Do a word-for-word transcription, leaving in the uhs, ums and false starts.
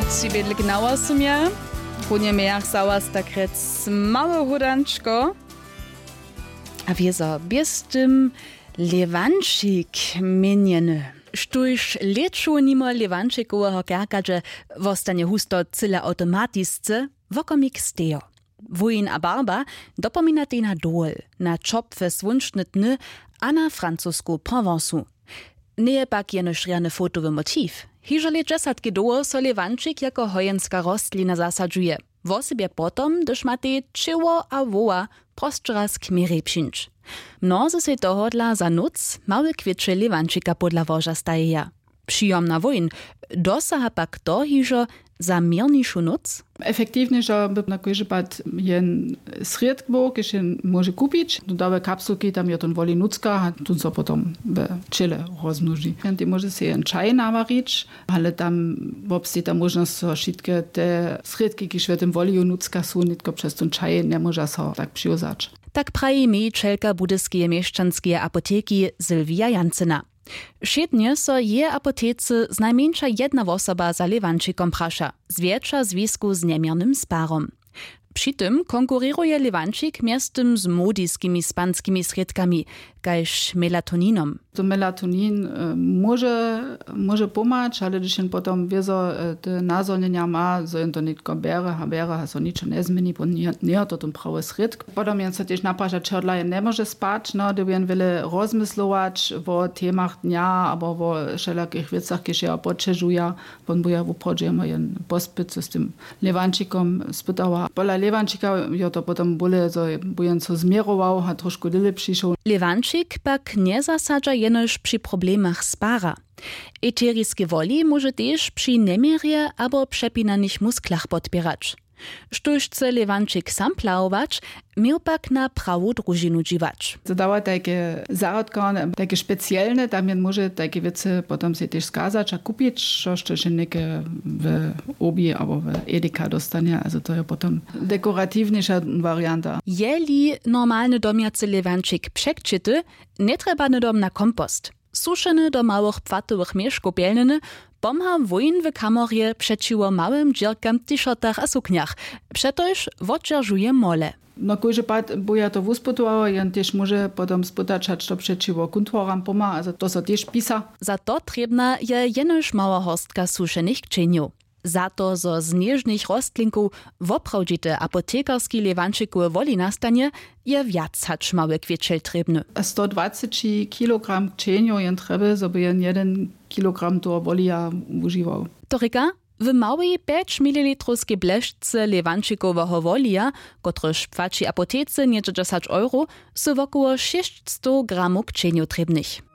Tři bědliki na wosomje. Runje mějach za was tak rjec mało hódančko. A wězo běz tym lewančik měnjeny, štóž lěću nimo lewančikoweho kerkadźe wostanje husto cyle awtomatisce, wokomik stejo. Wójn a barba dopominatej na dowol, na ćopłe słónčne dny a na francusku provencu. Njeje pak jenož rjany fotowy motiv. Hižo lět dźesatki dołho so lewančik jako hojenska rostlina zasadźuje, wosebje potom hdyž matej ćěło a woła prosće raz k měrjej přińć. Mnozy sej tohodla za nóc małe kwěće lewančika podla łoža stajeja. Přijomna wójn dosaha pak to hižo za měrnišu nóc. Efektiwnješo by na kóždy pad jen srědk był, kiž jen móže kupić, dodawe kapsulki, tam jo tón woli nutřka a tón so potom we ćěle rozmnoži. Jen tej móže sej jen čaj nawarić, ale tam wobsteji ta móžnosć zo wšitke te srědki kiž we tym woliju nutřka su nětko přez tón čaj njemóža so tak přiwzać. Tak praji mějićelka budyskeje měšćanskeje apoteki Sylwija Jancyna. Wšědnje so jeje apotece znajmjeńša jedna wosoba za lewančikom praša, zwjetša w zwisku z njeměrnym sparom. Při tym konkurěruje lewančik mjeztym z młodiskimi spanskimi srědkami, kaž melatoninom. To melatonin móže móže pomhać, ale hdyž jen potom wězo te nazhonjenja ma, zo jen to nětko bjere a bjere a so ničo njezměni, bo njejo to ten prawy srědk. Potom jen so tež napraša čehodla jen njemóže spać, no hdy by jen wjele rozmyslować wo temach dnja abo wo wšelakich wěcach kiž jeho poćežuja, wón by jo wuprawdźe jemu jen pospyt so z tym lewančikom spytała. Pola lewančika jo to potom bóle zo by jen so změrował a trošku dyle přišoł. Lewančik pak njezasadźa jenož při problemach spara. Eteriske woli móže tež při njeměrje abo přepinanych musklach podpěrać. Štóž chce lewančik sam plahować, měł pak na prawu družinu dźiwać. To dawa tajke zarodkarne tajke specielne, tam jen móže tajke wěcy potom sej tež skazać a kupić, štož to wšenjeke w obi abo w edeka dóstanje, ale to je potom dekoratiwnjejša warianta. Jeli normalny domjacy lewančik překćity, njetrjeba hnydom na kompost. Sušeny do małych płatowych měškow pjelnjeny pomha wójn w kamorje přećiwo małym dźěrkam w tišertach a suknjach, přetož wotdźeržuje mole. No kóždy pad by ja to wuspytowała, jen tež móže potom spytać hač to přećiwo kuntworam pomha a to so tež pisa. Za to trěbna je jenož mała horstka sušenych kćenjow. Za to zo z něžnych rostlinkow woprawdźite apotekarski lewančikowe woli nastanje, je wjac hač mały kwěćel trěbny. Sto dwaceći kilogram kćenjow jen trjeby zo by jen jeden kilogram toho wolija wužiwał. To rěka, w małej pjeć mililitrowskej blešce lewančikoweho wolija, kotryž płaći apotece něhdźe dźesać euro, su wokoło šěsćstow gramow kćenjow trěbnych.